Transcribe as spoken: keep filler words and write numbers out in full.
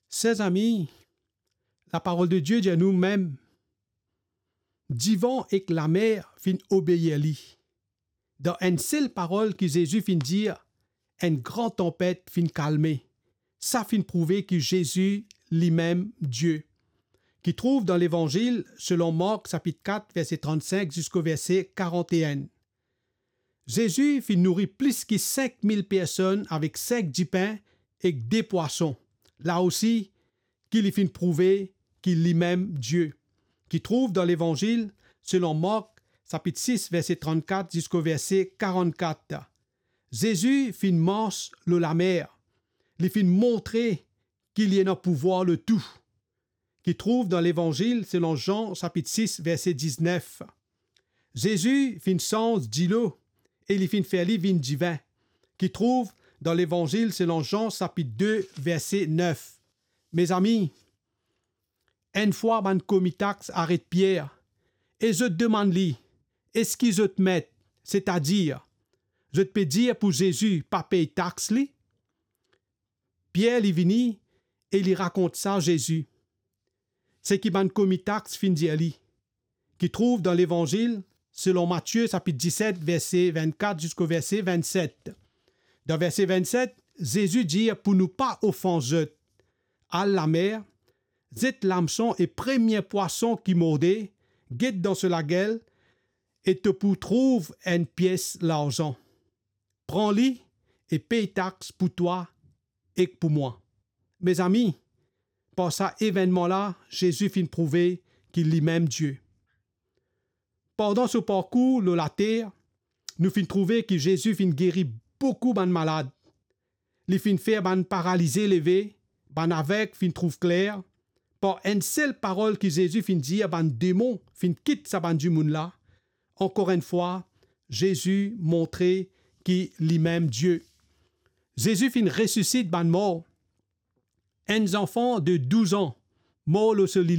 Ser zami, laparol de Die dir nou mem, divan ek lamer finn obeir li. Dan enn sel parol ki Zezi finn dir, enn gran tanpet finn kalme. Sa finn prouve ki Zezi limem Die. Ki trouv dan Levanzil selon Mark sapit kat, verse trannsink ziska verse karant-e-enn. Zezi finn nouri plis ki sink mil personn avek sink dipin ek de pwason. La osi, ki li finn prouve ki limem Die. Ki trouv dan Levanzil selon Mark, sapit sis, verse trannkat ziska verse karannkat. Zezi finn mars lor lamer. Li finn montre ki li ena pouvwar lor tou. Ki trouv dan Levanzil selon Zan, sapit sis, verse diznef. Zezi finn sanz dilo e li finn fer li vinn divin. Ki trouv dan Levanzil selon Zan, sapit de, verse nef. Mezami, enn fwa bann komi tax aret Pier e zot demann li, "Eski zot met, setadir, zot pe dir pou Zezi pa pey tax li?" Pier li vini e li rakont sa Zezi, seki bann komi tax finn dir li. Ki trouv dan Levanzil selon Matie, sapit diset, verse vennkat ziska verse vennset. Dan verse vennset, Zezi dir pou nou pa ofans zot, "Al lamer, zet lamson e premie pwason ki morde, get dan so lagel e to pou trouv enn pies larzan. Pran li e pey tax pou twa ek pou mwa." Mezami, par sa evennman la, Zezi finn prouve ki limem Die. Pandan so parkour lor later, nou finn trouve ki Zezi finn geri boukou bann malad. Li finn fer bann paralize leve, bann aveg finn trouv kler. Par enn sel parol ki Zezi finn dir, bann demon finn kit sa bann dimoun la. Ankor enn fwa, Zezi montre ki limem Die. Zezi finn resisit bann mor. Enn zanfan de douz an mor lor so lili.